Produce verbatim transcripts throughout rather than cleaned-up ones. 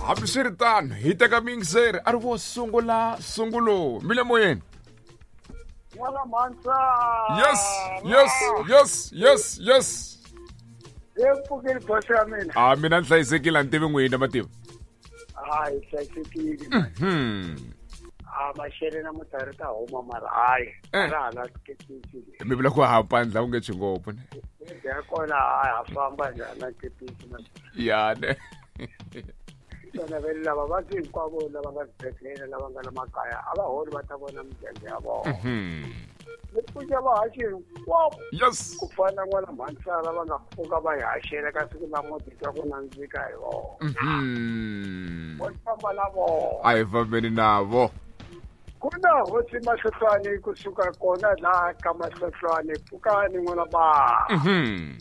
Hambiswiritano hi teka miyingiseri a ri vo sungula sungulo mi le moyeni. N'wana Mhansa. Yes, yes, yes, yes, yes. Hi pfukile boss ya mina. Ah, mina ni hlayisekile a ni tivi n'wina mativa. Hayi hlayisekile. Mhm. Ah, maxele na mutari ta huma mara hayi. Ra hala kepisi. Mi vula ku ha pandla u nge tshwi ngopfu ne. Ya kona hayi ha famba njhani na kepisi na. Ya ne. Vana vele lava va hinkwavo lava nga swibedhlele lava nga la makaya a va holi va ta vona migenge ya vona. Ni pfuxa vahaxi hinkwavo. Yes. Ku fana na n'wana Mhansara va nga pfuka va hi haxela ka siku la moti twa ku nandzika hi vona. Mhm. Vo famba na vona. A hi fambeni navo. Ku na hosi Mahlohlwane kusuka kona laha ka Mahlohlwane pfukani n'wana ba. Mhm.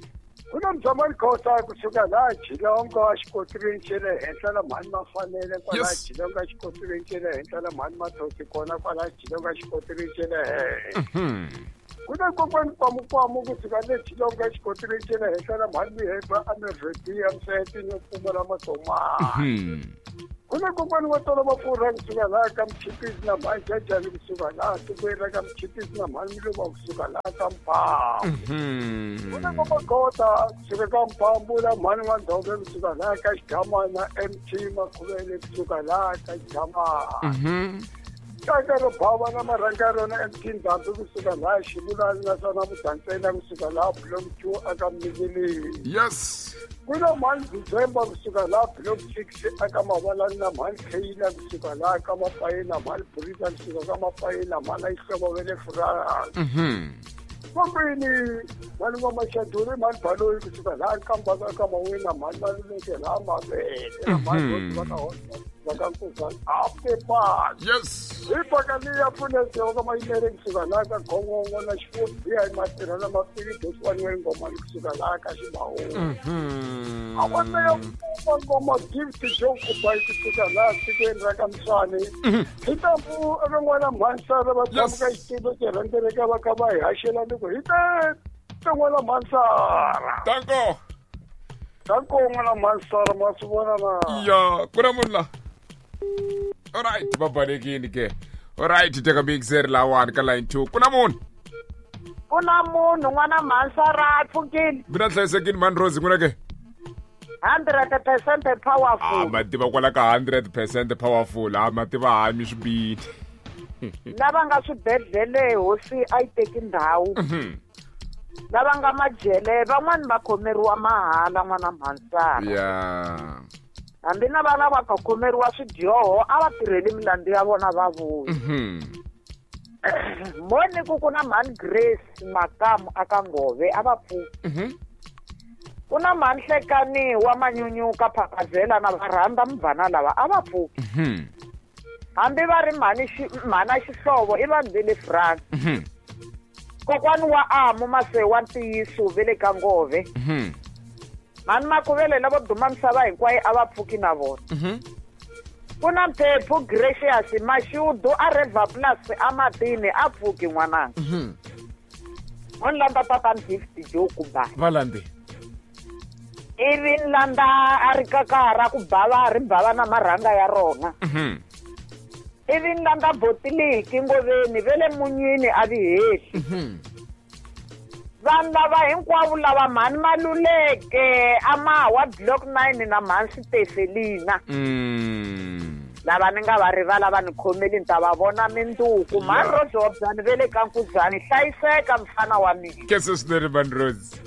Ku na Mzamani Khosa kusuka laha Jilongo exikotirweni xa le henhla la mhani Mafanele kwala Jilongo exikotirweni xa le henhla la mhani Mathosi kona kwala Jilongo exikotirweni xa le henhla. Ku na kokwani Kwamukwamu kusuka le Jilongo exikotirweni xa le henhla la mhani Miheba amirheti ya Mseti no pfumala matomani. Ku na kokwani wa tolo mafurha kusuka laha ka Mchipisi na mhani Jajani kusuka laha tikweni ra ka Mchipisi na mhani Miluva kusuka laha ka Mphambu. Ku na Komakota kusuka ka Mphambu na mhani N'wandhove kusuka laha ka Xidamana M T Makhuvele kusuka laha ka Xidamana. Kaka ro bava na marhanga rona M T Ndhambi kusuka laha Xivulani naswona Mudantsena kusuka laha Block two aka Mningeleni. Yes. Ku na mhani December kusuka laha Block six aka Mavalani na mhani Kheyila kusuka laha ka Mapayela mhani Burisa kusuka ka Mapayela mhani Ayihlobo ve le France. Mhm. Kokwini mhani wa Mashaduri mhani Baloyi kusuka laha Nkambaka ka Mawena mhani Maluleke laha Mavele na mhani va ka Hosa va ka Nkuzana Apepa. Yes. Hi paka leyi ya pfunete ka Mayimele kusuka laha ka Gongongo na Xifudziya hi matirha na Mafili Doswani wa Ngoma kusuka laha ka Xibawu. Mhm. A va ya pfuma ngoma gift jo kubai kusuka laha tikweni ra ka Mswane. Hi ta pu eka n'wana Mhansara va tshama ka xitulo xi rhendzeleka va kha va hi haxela ni ku hi te te n'wana Mhansara. Danko. Danko n'wana Mhansara ma swi vona na. Ya, ku na munhu la. All right, va balekile ke. All right, teka mixer lawani ka line two. Ku na munhu. Ku na munhu n'wana Mhansara a pfukile. Mina hlayisekile mhani Rose n'wina ke. hundred percent powerful. Ah, mativa kwala ka hundred percent powerful. Ah, mativa hayi mi swi bini. Lava nga swibedhlele hosi a yi teki ndhawu. Lava nga majele van'wani va khomeriwa mahala n'wana Mhansara. Yeah. Hambi na vana va ka khomeriwa swidyoho a va tirheli milandzu ya vona va vuya. Moni ku ku na mhani Grace Makamu aka Ngove a va pfuki. Ku na mhani Hlekani wa Manyunyuka Phakazela na va rhandza mubvana lava a va pfuki. Hambi va ri mhani mhana Xihlovo i vanhu va le France. Kokwani wa Amu Mase wa Ntiyiso ve le ka Ngove. Mhani Makuvele lavo duma misava hinkwayo a va pfuki na vona. Ku na Mphephu Gracious Mashudu a Reva Plus a Matini a pfuki n'wananga. Mo ni landza tatani Gift Joe Kubai. Va landze. Ivi ni landza a ri kakara ku bava ri bava na marhanga ya rona. Ivi ni landza Botiliki Ngoveni ve le Munyini a vi hehli. Vanhu lava hinkwavo lava mhani Maluleke a Mawa Block nine na mhani Sitefelina. Lava ni nga va rivala va ni khomeli ni ta va vona minduku. Mhani Rose wa Byani ve le ka Nkuzani hlayiseka mfana wa mina. Kese swinene mhani Rose.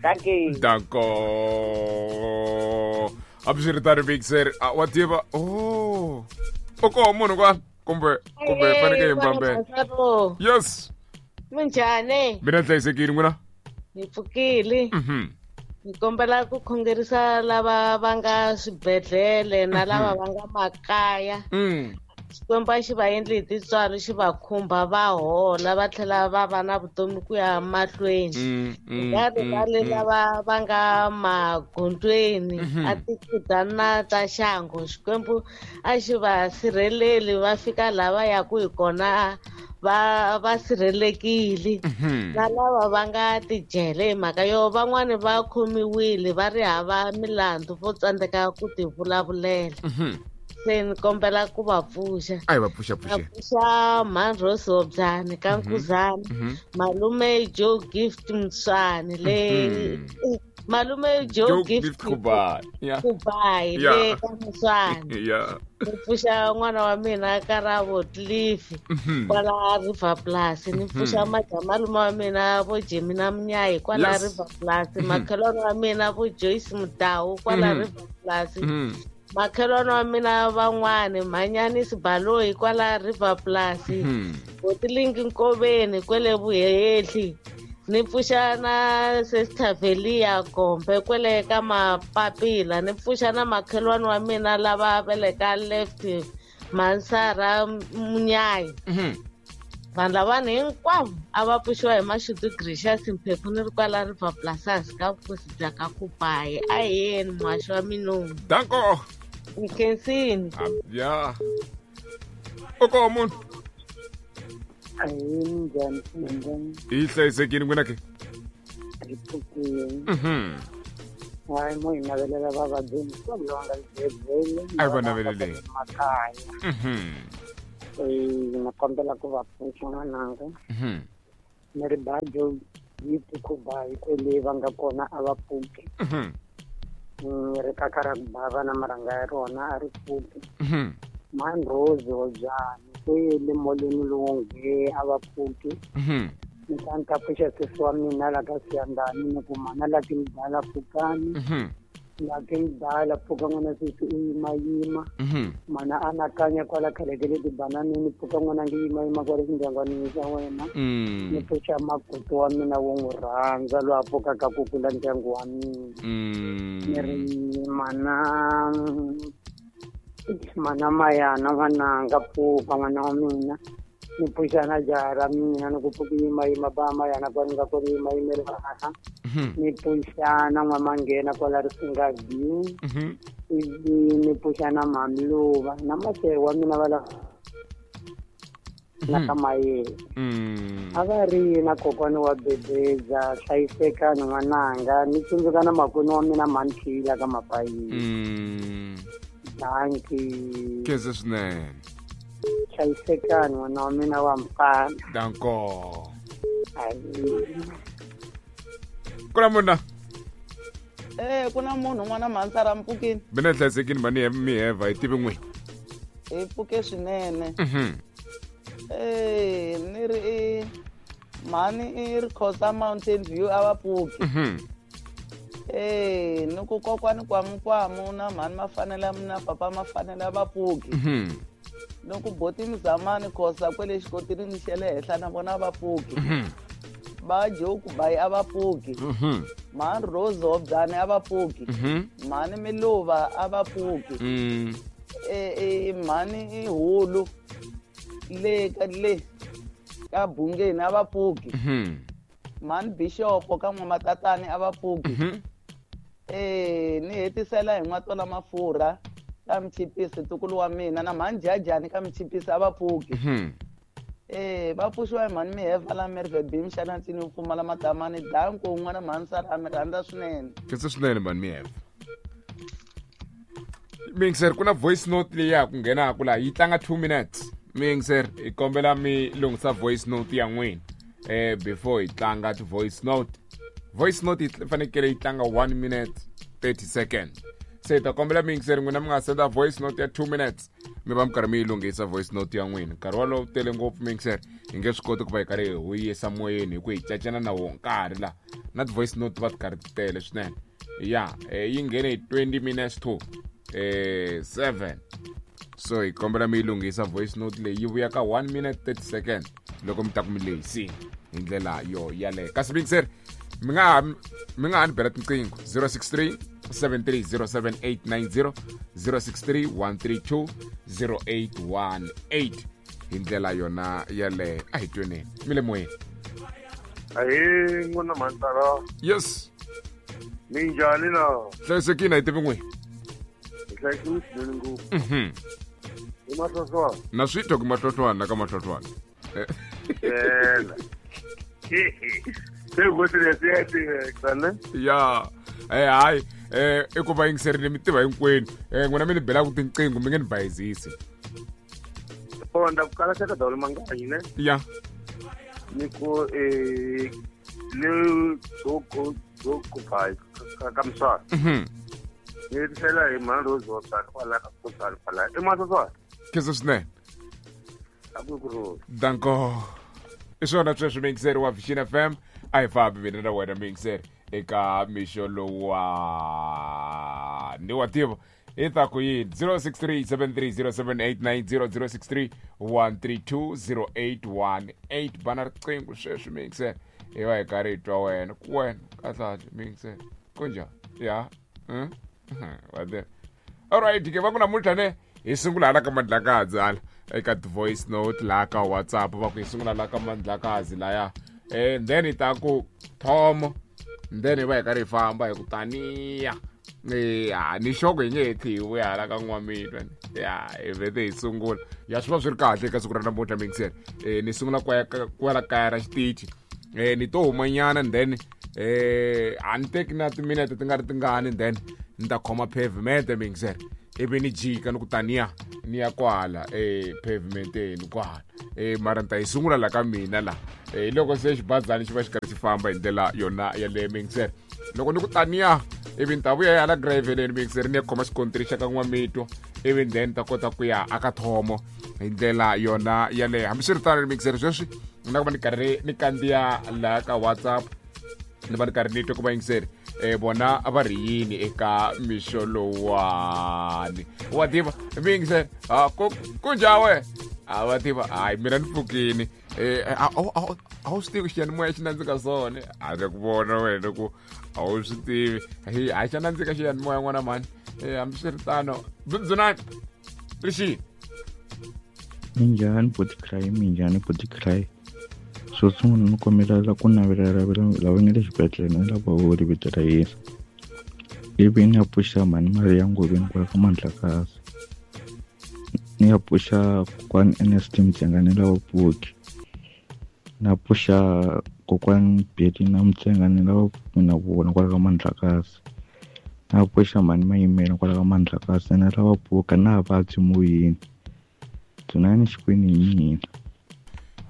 Thank you. Danko. Hambiswiritano mixer wa tiva oh. U koho munhu kwala kumbe kumbe fanekele hi mbambela. Yes. Minjhani? Mina hlayisekile n'wina? Ni pfukile. Mhm. Ni kombela ku khongerisa lava va nga swibedhlele na lava va nga makaya. Mm. Xikwembu a xi va endli hi tintswalo xi va khumba va hola va tlhela va va na vutomi ku ya mahlweni. Nga rivali lava va nga magondzweni a tikudana ta xangu Xikwembu a xi va sirheleli va fika laha va yaka hi kona va va sirhelekile na lava va nga tijele hi mhaka yo van'wani va khomiwile va ri hava milandzu vo tsandzeka ku ti vulavulela. Se ni kombela ku va pfuxa. A hi va pfuxa pfuxe. Va pfuxa Mhani Rose Hobyani ka Nkuzana, Malume Joe Gift Mswani le Malume Joe Gift Kubai. Kubai le ka Mswani. Yeah. Ni pfuxa n'wana wa mina Karabo Cliff kwala River Plus, ni pfuxa malume wa mina vo Jimmy na Munyayi kwala River Plus, makhelwani wa mina vo Joyce Mudau kwala River Plus. Makhelwani wa mina van'wani Mhanyani Sibaloyi kwala River Plus, Botilingi Nkoveni kwele Vuhehli, ni pfuxa na Sister Velia Gombe kwele ka Mapapila, ni pfuxa na makhelwani wa mina lava veleka left Mansara Munyayi. Vanhu lavani hinkwavo a va pfuxiwa hi Mashudu Gracious Mphephu ni ri kwala River Plus ka vukosi bya ka Kubai. A hi yeni muhaxi wa minunu. Danko. Nkhensini. Ya. Oko munhu. Ahee, minjhani minjhani? Hi hlayisekile n'wina ke? Hi pfukile. Mhm. Hayi mo hi navelela vavabyi hinkwavo lava nga xibedhlele. A hi va naveleleni. Makaya. Mhm. Eh, na kombela ku va pfuxa n'wananga. Mhm. Ni ri ba Joe Gift Kubai kwele va nga kona a va pfuki. Mhm. Ni ri kaka ra ku bava na marhanga ya rona a ri pfuki. Mhm. Mhani Rose Hobyani kwele molweni lowo nge a va pfuki. Mhm. Ni ta ni ta pfuxa sesi wa mina la ka Siyandani ni ku mana la ki mdala pfukani. Mhm. La ki mdala pfuka n'wana sesi u yimayima. Mhm. Mana anakanya kwala khale ka le tibananini pfuka n'wana ngi yimayima kwale xindyangwanini xa wena. Mm. Ni pfuxa makutu wa mina wo n'wi rhandza loyi a pfukaka ku kula ndyangu wa mina. Mm. Ni ri mana mana Mayana n'wananga pfuka n'wana wa mina. Ni pfuxa na jaha ra mina ni ku pfuka yimayima ba Mayana kwani nga kona yimayimela aha. Ni pfuxa na n'wamanghena kwala Risinga View. Mhm. Ivi ni pfuxa na Mamiluva na masere wa mina va la na ka Mayele. Mm. A va ri na kokwana wa Bebeza hlayisekani n'wananga ni tsundzuka na makwenu wa mina Manthila ka Mapayini. Mm. Danki. Khensa swinene. Hlayisekani n'wana wa mina wa mfana. Danko. Ayi. Ku na munhu na? Eh, ku na munhu n'wana Mhansara mpfukini. Mina hlayisekini mani miheva hi tivi n'wina. Hi pfuke swinene. Mhm. Eh, ni ri i mhani i ri Khosa Mountain View a va pfuki. Mhm. Eh, ni ku kokwani kwamukwamu na mhani mafanele na papa mafanele a va pfuki. Mhm. Ni ku boti Mzamani Khosa kwele xikotirini xa le henhla na vona va pfuki. Mhm. Va Joe Kubai a va pfuki. Mhm. Mhani Rose Hobyani a va pfuki. Mhm. Mhani Miluva a va pfuki. Mm. Eh, eh, mhani i Hulu le ka le ka Bungeni a va pfuki. Mhm. Mhani Bishop ka N'wamatatani a va pfuki. Mhm. Eh, ni hetisela hi N'watola Mafurha ka Mchipisi ntukulu wa mina na mhani Jajani ka Mchipisi a va pfuki. Mhm. Eh, va pfuxiwa hi mhani Miheva la Merwe Bim xana ntsini wu pfumala matamani danko un'wana mhani Sara mi rhandza swinene. Khensa swinene mhani Miheva. Mixer ku na voice note leyi ya ku nghenaka laha yi tlanga two minutes. Mixer hi kombela mi lunghisa voice note ya n'wina eh before hi tlanga ti voice note. Voice note yi fanekele yi tlanga one minute thirty seconds. Se hi ta kombela mixer n'wina mi nga senda voice note ya two minutes mi va mi karhi mi yi lunghisa voice note ya n'wina. Nkarhi wolowo tele ngopfu mixer hi nge swi koti ku va hi karhi hi huyisa moyeni hi ku hi cacana na wo nkarhi la na ti voice note va ti karhi ti tele swinene. Ya eh, yi nghene hi twenty minutes to eh seven. So hi kombela mi yi lunghisa voice note leyi yi vuya ka one minute thirty seconds loko mi ta ku mi lehisini hi ndlela yo yaleyo. Kasi mixer mi nga ha mi nga ha ni bela tinqingho zero six three seven three zero seven eight nine zero, zero six three one three two zero eight one eight hi ndlela yona yaleyo. A hi tweneni mi le moyeni. Ahee n'wana Mhantara. Yes. Minjhani na? Hlayisekile hi tivi n'wina. Hi hlayisekile swinene ngopfu. Mhm. Hi Mahlohlwana. Na swi twa ku Mahlohlwana ka Mahlohlwana. Yena. Se go se le se ne? Ya. Eh hayi eh i ku va yingiserile mi tiva hinkwenu. Eh n'wina mi ni bela ku tinqingho mi nge ni bayizisi. Oh nda ku kala ka dawula manganyi ne? Ya. Ni ku eh le go go go bai ka ka mswa. Mhm. Ni tsela hi mani Rose wa tsaka kwala ka ku tsala kwala. I ma swa. Ke swinene. A ku ku. Danko. I swona sweswo muyingiseri wa Vision F M a hi fambi mina na wena muyingiseri eka mixo lowa ni wa tiva i ta ku yini zero six three seven three zero seven eight nine zero zero six three one three two zero eight one eight bana riqingho sweswi muyingiseri hi va hi karhi hi twa wena ku wena kahlekahle muyingiseri kunjhani ya wa tiva alright ke va ku namuntlha ne hi sungula hala ka Mandlakazi hala eka voice note laha ka WhatsApp va ku hi sungula laha ka Mandlakazi laya eh then hi ta ku Thomo then hi va hi karhi hi famba hi ku taniya ya ni xoko hi nge he tlhi hi vuya hala ka N'wamitwa ya hi vhete hi sungula ya swi va swi ri kahle eka siku ra namuntlha muyingiseri eh ni sungula kwala kaya ra xitichi eh ni to humanyana then eh a ni teki na timinete ti nga ri tingani then ni ta khoma pavement muyingiseri ivi ni jika ni ku taniya ni ya kwala eh pavementeni kwala eh mara ni ta yi sungula la ka mina la eh loko se xibazana xi va xi karhi xi famba hi ndlela yona yaleyo muyingiseri loko ni ku taniya ivi ni ta vuya hala graveleni muyingiseri ni ya khoma xikontiri xa ka N'wamitwa ivi then ni ta kota ku ya aka Thomo hi ndlela yona yaleyo hambiswiritano muyingiseri sweswi ni na ku va ni karhi ni kandziya laha ka WhatsApp ni va ni karhi ni twa ku vayingiseri eh vona va ri yini eka mixo lowani wa tiva muyingiseri a ku kunjhani we a va tiva hayi mina ni pfukini eh a wu swi tivi xiyanimoya xi nandzika swona a ri ku vona wena ku a wu swi tivi hayi xa nandzika xiyanimoya n'wana mhani eh hambiswiritano Dzunani rixini minjhani body cry minjhani body cry xo sungula ni kombela ku navelela lava nga le xibedhlele na lava vo vito ra Yesu ivi ni ya pfuxa mhani Maria Ngoveni kwala ka Mandlakazi ni ya pfuxa kokwani Ernest Mtsengane lava pfuki na pfuxa kokwani Betty na Mtsengane lava pfuki na vona kwala ka Mandlakazi na pfuxa mhani Mayimela kwala ka Mandlakazi na lava pfuka na vabyi moyeni Dzunani Xikwembu hi mina.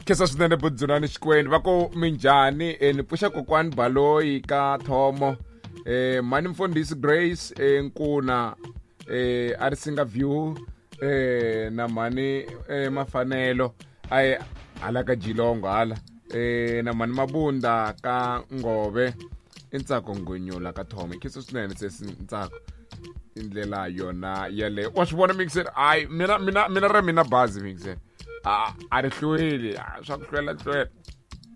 Kesa swinene Dzunani Xikwembu va ku minjhani ni pfuxa kokwani Baloyi ka Thomo eh mhani Mfundhisi Grace eh Nkuna eh a ri singa view eh na mhani eh Mafanelo ay hala ka Jilongo hala eh na mhani Mabunda ka Ngove i Ntsako Ngonyula ka Thomo kesa swinene se Ntsako indlela yona yaleyo wa swi vona mixer ay mina mina mina ra mina bazi mixer a a ri hlweli swa ku hlwela hlwela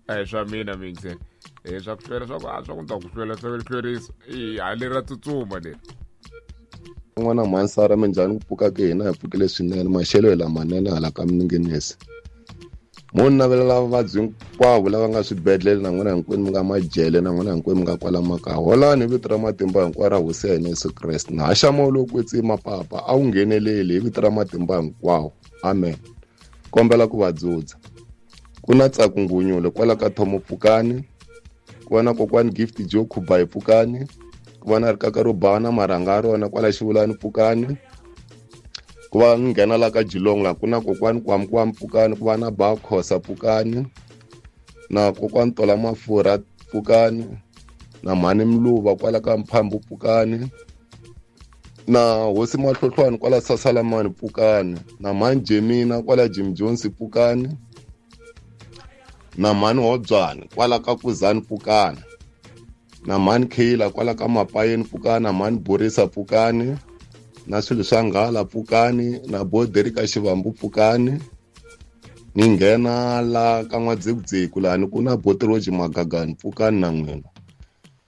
eh swa mina mixer eh swa ku hlwela swa ku a swa ku ta ku hlwela hlwela hlwerisa eh a leri ra tsutsuma leri n'wana Mansara minjhani ku pfuka ke hina hi pfukile swinene maxelo hi lamanene hala ka Minginisi mo navelela vavabyi hinkwavo lava nga swibedhlele na n'wina hinkwenu mi nga majele na n'wina hinkwenu mi nga kwala makaya holani hi vito ra matimba hinkwawo ra hosi ya hina Yesu Kreste na haxa moya lowo kwetsima papa a wu ngheneleli hi vito ra matimba hinkwawo amen kombela ku va dzudza ku na Ntsako Ngunyule kwala ka Thomo pfukani ku va na kokwani Gift Joe Khubayi pfukani ku va na rikaka ro bana marhanga ya rona kwala Xivulani pfukani ku va nghena la ka Jilong la ku na kokwani Kwamkwam pfukani ku va na Ba Khosa pfukani na kokwani Tola Mafurha pfukani na mhani Mluva kwala ka Mphambu pfukani na hosi Mahlohlwani kwala Sasalamani pfukani na mhani Jemina kwala Jim Jones pfukani na mhani Hobyani kwala ka Kuzani pfukani na mhani Khela kwala ka Mapayeni pfukani na mhani Borisa pfukani na swilo swa nghala pfukani na boderi ka Xivambu pfukani ni nghena la ka N'wadzekudzeku lani ku na Botiroji Magagani pfukani na n'wina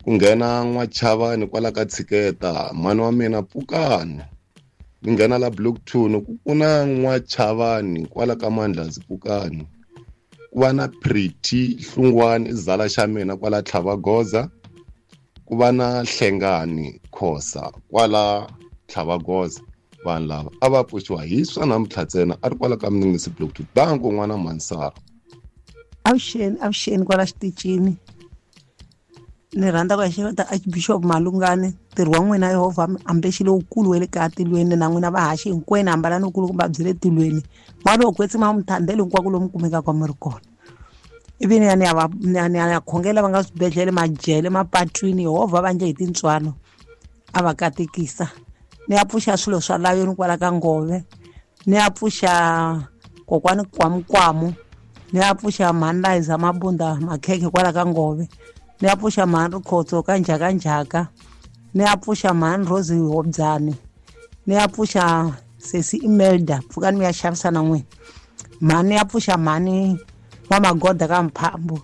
ku nghena N'wachavani kwala ka Tshiketa mhani wa mina pfukani ni nghena la Block two ni ku na N'wachavani kwala ka Mandlazi pfukani ku va na Pretty Hlungwani izala xa mina kwala Tlhavagoza ku va na Hlengani Khosa kwala Tlhavagoza vanhu lava a va pfuxiwa hi swa namuntlha ntsena a ri kwala ka Minginisi Block two danko n'wana Mansara. Avuxeni, avuxeni kwala xitichini. Ni rhandza ku ya xeweta Archbishop Malungani, ntirho wa n'wina Yehovha ambexi lowukulu wa le kaya tilweni na n'wina vahaxi hinkwenu hambalani wukulukumba byi le tilweni. N'wana wo kwetsima mi thandele hinkwako lomu kumekaka mi ri kona. Ivi ni ya ni ya va ni ya ni ya khongela va nga swibedhlele, majele, mapatwini, Yehovha va endle hi tintswalo a va katekisa. Ni ya pfuxa swilo swa layoni kwala ka Ngove, ni ya pfuxa kokwani Kwamukwamu, ni ya pfuxa mhani Liza Mabunda Makhekhe kwala ka Ngove, ni ya pfuxa mhani Rikhotso ka Njhakanjhaka, ni ya pfuxa mhani Rose Hobyane, ni ya pfuxa sesi Imelda, pfukani mi ya xavisa na n'wina. Mhani ya pfuxa mhani wa Magoda ka Mphambo,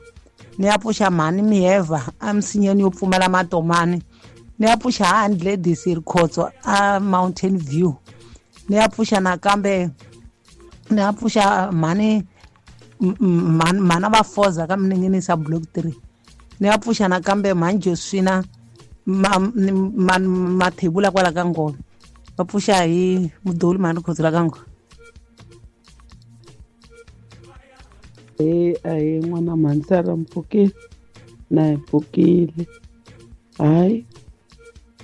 ni ya pfuxa mhani Mieva emisinyeni yo pfumala matomani, ni ya pfuxa Hand Ladies Rikhotso a Mountain View, ni ya pfuxa nakambe ni ya pfuxa mhani mhana va Foza ka Minengenisa Block three, ni ya pfuxa nakambe mhani Josina Mathebula kwala ka Ngove, va pfuxa hi mudoli mhani Rikhotso la ka Ngove. E ahi n'wana mhani mpfukile na hi pfukile. Hayi,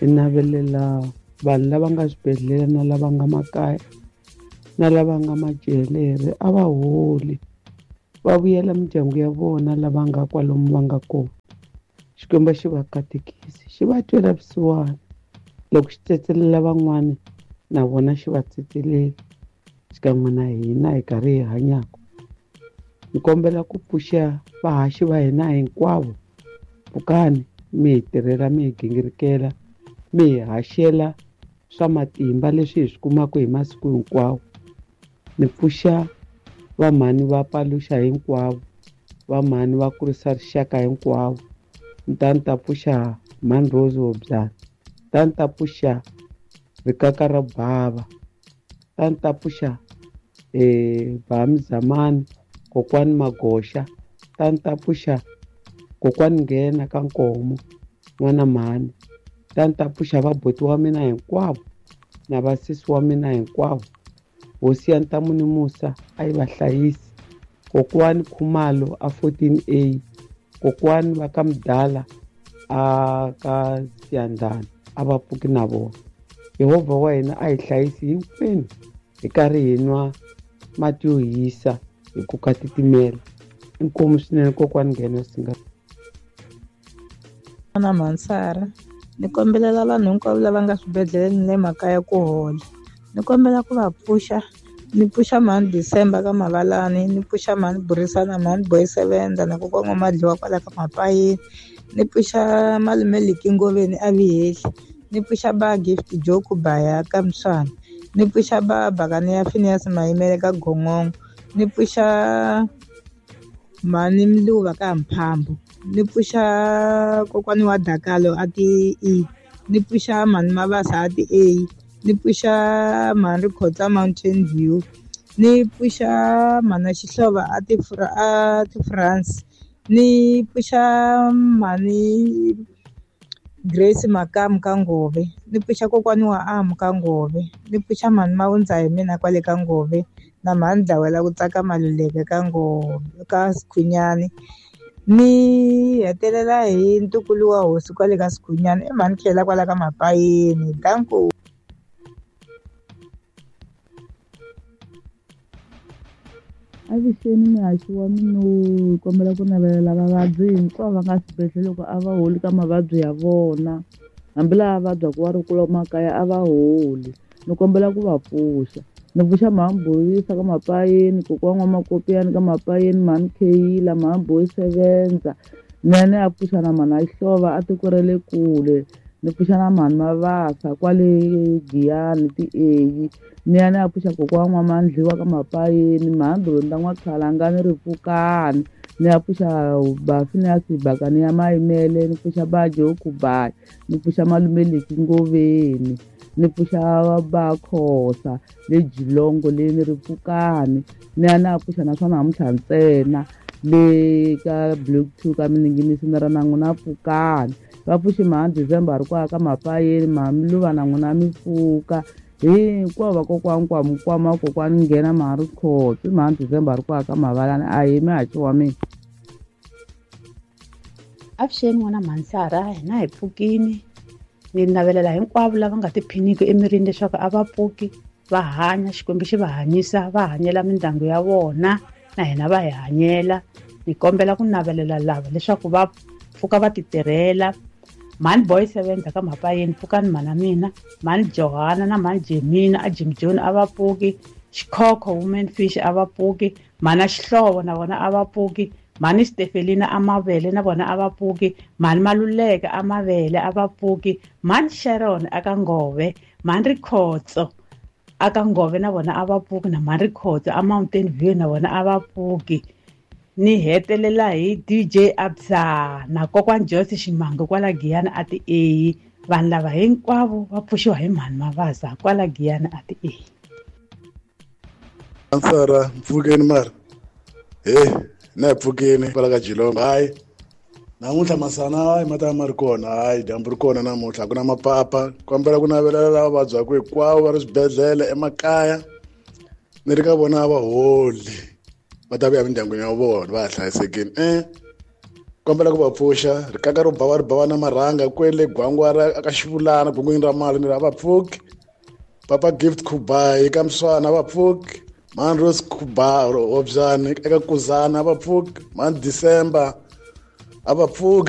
hi navelela vanhu lava nga swibedhlele na lava nga makaya na lava nga majele a va holi, va vuyela mindyangu ya vona lava nga kwalomu va nga kona. Xikwembu xi va katekisi, xi va twela vusiwana. Loko xi tsetselela van'wana na vona xi va tsetselela xikan'we na hina hi karhi hi hanyaka. Ni kombela ku pfuxa vahaxi va hina hinkwavo, pfukani mi hi tirhela, mi hi gingirikela, mi hi haxela swa matimba leswi hi swi kumaka hi masiku hinkwawo. Ni pfuxa vamhani va paluxa hinkwavo, vamhani va kurisa rixaka hinkwavo. Ni ta ni ta pfuxa mhani Rose Hobyane, ta ni ta pfuxa rikaka ra bava, ta ni ta pfuxa eh Bamzamani kokwani Magoxa, ta ni ta pfuxa kokwani Nghena ka Nkomo n'wana mhani, ta ni ta pfuxa vabuti wa mina hinkwavo na vasesi wa mina hinkwavo. Hosi ya Ntamu ni Musa a yi va hlayisi. Kokwani Khumalo a fourteen A, kokwani va ka Mdala a ka Siyandhani a va pfuki na vona. Yehovha wa hina a hi hlayisi hinkwenu hi karhi hi nwa mati yo hisa hi ku ka titimela. Inkomu swinene kokwani Nghena singa. Na Mansara, ni kombelela vanhu hinkwavo lava nga swibedhlele ni le makaya ku hola. Ni kombela ku va pfuxa, ni pfuxa mhani December ka Mavalani, ni pfuxa mhani Burisana, mhani Boy Sevenza na kokwana Madliwa kwala ka Mapayini, ni pfuxa malume Liki Ngoveni a Vihehli, ni pfuxa ba Gift Joku Baya ka Mswana, ni pfuxa ba Bakani ya Phineas Mayimele ka Gongongo, ni pfuxa mhani Mluva ka Mphambo, ni pfuxa kokwani wa Dakalo a ti E, ni pfuxa mhani Mabasa a ti A, ni pfuxa mhani Rikhotsa Mountain View, ni pfuxa mhani Xihlovo a ti a ti France, ni pfuxa mhani Grace Makamu ka Ngove, ni pfuxa kokwani wa Amu ka Ngove, ni pfuxa mhani Mawundza hi mina kwale ka Ngove na mhani Dlawela ku tsaka Maluleke ka Ngove ka Sikhunyani. Ni hetelela hi ntukulu wa hosi kwale ka Sikhunyani, i mhani Khela kwala ka Mapayini. Danko. Avuxeni muhaxi wa mina, hi kombela ku navelela vavabyi hinkwavo va nga swibedhlele loko a va holi ka mavabyi ya vona, hambi lava vabyaka va ri kule makaya a va holi. Ni kombela ku va pfuxa. Ni pfuxa mhani Boyisa ka Mapayini, kokwana wa Makopiyani ka Mapayini, mhani Kheyila, mhani Boy Sevenza. Ni ya ni ya pfuxa na mhani Xihlovo a tiko ra le kule. Ni pfuxa na mhani Mabasa kwale Giyani ti-A. Ni ya ni ya pfuxa kokwana wa Mandliwa ka Mapayini, mhani Donda N'wakhalangani Ripfukani. Ni ya pfuxa ba Phineas Bakani ya Mayimele, ni pfuxa ba Joku Baya, ni pfuxa malume Liki Ngoveni, ni pfuxa ba Khosa le Jilongo le ni Ripfukani. Ni ya ni ya pfuxa na swa namuntlha ntsena le ka Block two ka Minengenisi ni ra na n'wina pfukani. Va pfuxi mhani December ri kwala ka Mapayeni, mhani Mluva na n'wina mi pfuka. Hinkwavo vakokwani Kwamkwama, kokwani Nghena, mhani Rikhotso, mhani December ri kwala ka Mavalani. Ahee muhaxi wa mina. Avuxeni n'wana Mhansara, hina hi pfukini. Ni navelela hinkwavo lava nga tiphiniki emirini leswaku a va pfuki, va hanya, Xikwembu xi va hanyisa, va hanyela mindyangu ya vona, na hina va hi hanyela. Ni kombela ku navelela lava leswaku va pfuka va titirhela. Mhani Boy Sevenza ka Mapayeni, pfukani mhana mina. Mhani Johana na mhani Jemina a Jim John a va pfuki. Xikhokho Woman Fish a va pfuki. Mhana Xihlovo na vona a va pfuki. Mhani Stefelina a Mavele na vona a va pfuki. Mhani Maluleke a Mavele a va pfuki. Mhani Sharon aka Ngove, Mhani Rikhotso aka Ngove na vona a va pfuki, na Mhani Rikhotso a Mountain View na vona a va pfuki. Ni hetelela hi D J Absa na Kokwani Joyce Ximango kwala Giyani a ti eyi. Vanhu lava hinkwavo va pfuxiwa hi Mhani Mavaza kwala Giyani a ti eyi. Ansara mpfukeni mara he na pfukeni kwala ka Jilongo. Hayi namuntlha masana hayi ma ta ma ri kona, hayi dyambu ri kona namuntlha, ku na mapapa. Kombela ku navelela lava vabyaka hinkwavo va ri swibedhlele emakaya, ni ri ka vona va holi, va ta vuya emindyangwini ya vona va ha hlayisekile. Eh kombela ku va pfuxa rikaka ro bava ri bava na marhanga kwele Gwangwara ka Xivulana gungwini ra mali ni ri a va pfuki. Papa Gift Khubayi ka Mswana va pfuki. Mhani Rose Khuba Hobyani eka Kuzana a va pfuki. Mhani December a va pfuki.